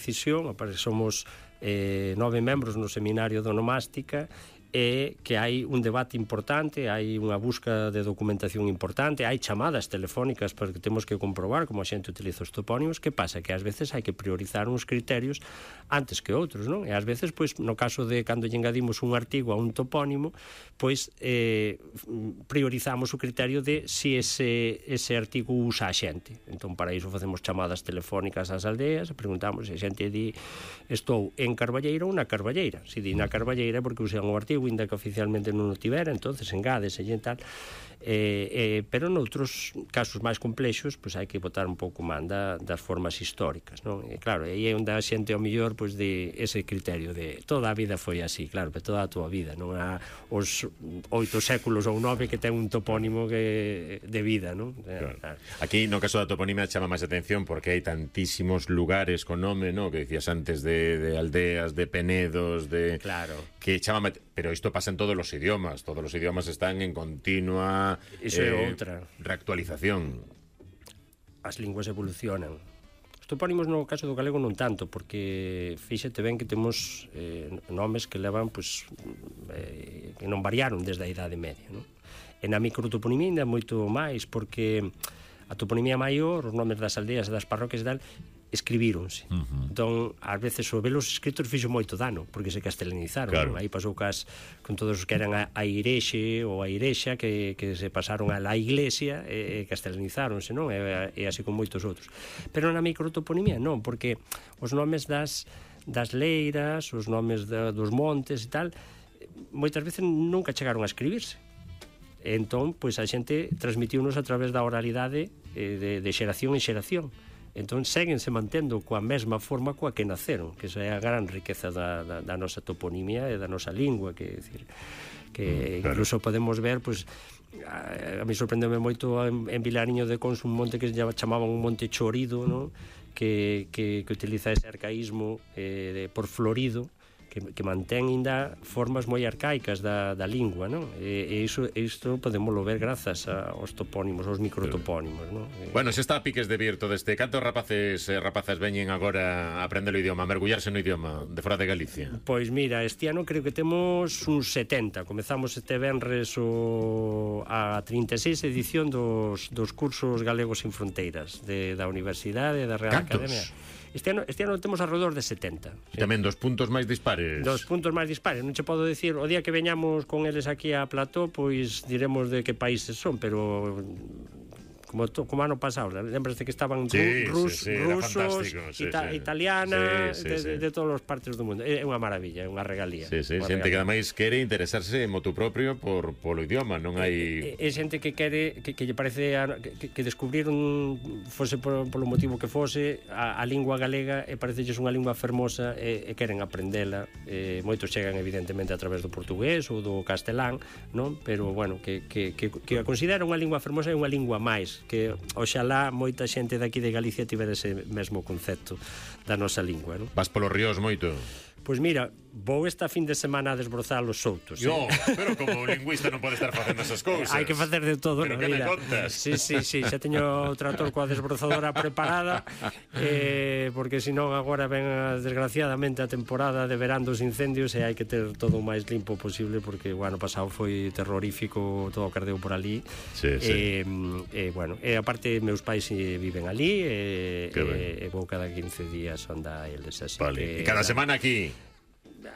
decisión, somos 9 membros no seminario de onomástica, e que hai un debate importante, hai unha busca de documentación importante, hai chamadas telefónicas porque temos que comprobar como a xente utiliza os topónimos. Que pasa? Que ás veces hai que priorizar uns criterios antes que outros, non? E ás veces, pois, no caso de cando lle engadimos un artigo a un topónimo, pois priorizamos o criterio de si ese artigo usa a xente. Entón, para iso facemos chamadas telefónicas ás aldeas e preguntamos se a xente di estou en Carballeira ou na Carballeira. Se di na Carballeira porque usan o artigo, ainda que oficialmente non o tivera, entonces engádese e tal. Pero noutros casos máis complexos, pois hai que botar un pouco man das formas históricas, non? E claro, aí é onde a xente ao mellor pois de ese criterio de toda a vida foi así, claro, pero toda a túa vida, non há os 8 séculos ou 9 que ten un topónimo que de vida, non? Claro. Aquí no caso da toponimia chama máis atención porque hai tantísimos lugares con nome, non? Que decías antes de aldeas, de penedos, de claro, que chama, pero isto pasa en todos os idiomas están en continua reactualización. As linguas evolucionan. Os topónimos no caso do galego non tanto, porque fíxate ben que temos nomes que levan, pois, que non variaron desde a Idade Media, non? E na microtoponimia ainda moito máis, porque a toponimia maior, os nomes das aldeas e das parroquias e tal, escribíronse. Entón, ás veces o velos escritos fixo moito dano, porque se castelanizaron. Claro. Aí pasou con todos os que eran a irexe ou a irexa, que se pasaron a la iglesia e castelanizáronse, non? E así con moitos outros. Pero na microtoponimia non, porque os nomes das leiras, os nomes dos montes e tal, moitas veces nunca chegaron a escribirse. Entón, pois a xente transmitiunos a través da oralidade de xeración en xeración. Entón séguense mantendo coa mesma forma coa que naceron, que esa é a gran riqueza da nosa toponimia e da nosa lingua, que decir, que incluso podemos ver, pois, a mí sorprendeu moito en Vilariño de Conso un monte que chamaban un monte Chorido, non? Que utiliza ese arcaísmo por florido, que mantén ainda formas moi arcaicas da lingua, non? E isto podemoslo ver grazas aos topónimos, aos microtopónimos, non? Bueno, se está a piques de vir todo este. Cantos rapaces e rapazas veñen agora a aprender o idioma, a mergullarse no idioma de fora de Galicia? Pois mira, este ano creo que temos uns 70. Comezamos este venres a 36 edición dos cursos galegos sin fronteiras da Universidade e da Real Academia. Este ano temos alrededor de 70. Sí. Tamén dos puntos máis dispares. Dos puntos máis dispares. Non che podo dicir, o día que veñamos con eles aquí a Plató, pois diremos de que países son, pero como ano pasado, lembraste que estaban rusos, italiana, de todas as partes do mundo. É unha maravilla, é unha regalía. Xente que ademais quere interesarse en motu propio polo idioma, non hai... É xente que quere, que lle parece que descubriron, fose polo motivo que fose, a lingua galega, e parecelles unha lingua fermosa e queren aprendela. Moitos chegan evidentemente a través do portugués ou do castelán, non? Pero bueno, que a considera unha lingua fermosa e unha lingua máis, que oxalá moita xente daqui de Galicia tivera ese mesmo concepto da nosa lingua, non? Vas polos ríos moito? Pois mira, vou esta fin de semana a desbrozar os soutos. Pero como lingüista non pode estar facendo esas cousas. Hai que facer de todo, pero que me contas? Sí, xa teño o trator coa desbrozadora preparada, porque senón agora ven desgraciadamente a temporada de verán dos incendios e hai que ter todo o máis limpo posible, porque o ano pasado foi terrorífico todo o que ardeu por ali. Bueno, e aparte meus pais viven ali e vou cada 15 días andar eles así. Vale. E cada semana aquí?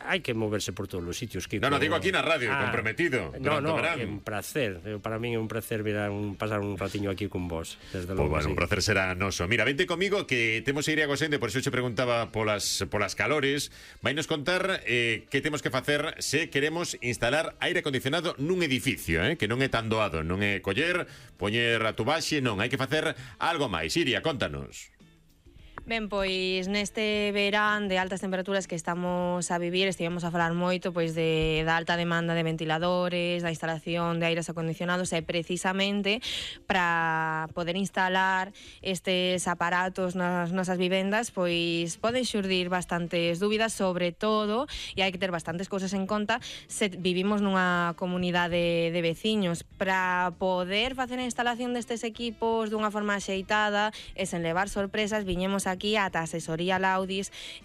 Hai que moverse por todos os sitios, Kiko. No, digo aquí na radio, comprometido. No, é un placer. Para min é un placer pasar un ratiño aquí con vos. Desde logo, bueno, un placer será noso. Mira, vente comigo que temos que ir a Gosende, por iso che preguntaba polas calores. Vai nos contar que temos que facer se queremos instalar aire acondicionado nun edificio, que non é tan doado, non é coller, poñer a tubaxe, non, hai que facer algo máis. Iria, contanos. Ben, pois neste verán de altas temperaturas que estamos a vivir, estivemos a falar moito pois da alta demanda de ventiladores, da instalación de aires acondicionados, e precisamente para poder instalar estes aparatos nas nosas vivendas, pois poden xurdir bastantes dúbidas, sobre todo, e hai que ter bastantes cousas en conta se vivimos nunha comunidade de veciños. Para poder facer a instalación destes equipos dunha forma axeitada e sen levar sorpresas, viñemos aquí ata asesoría Laudis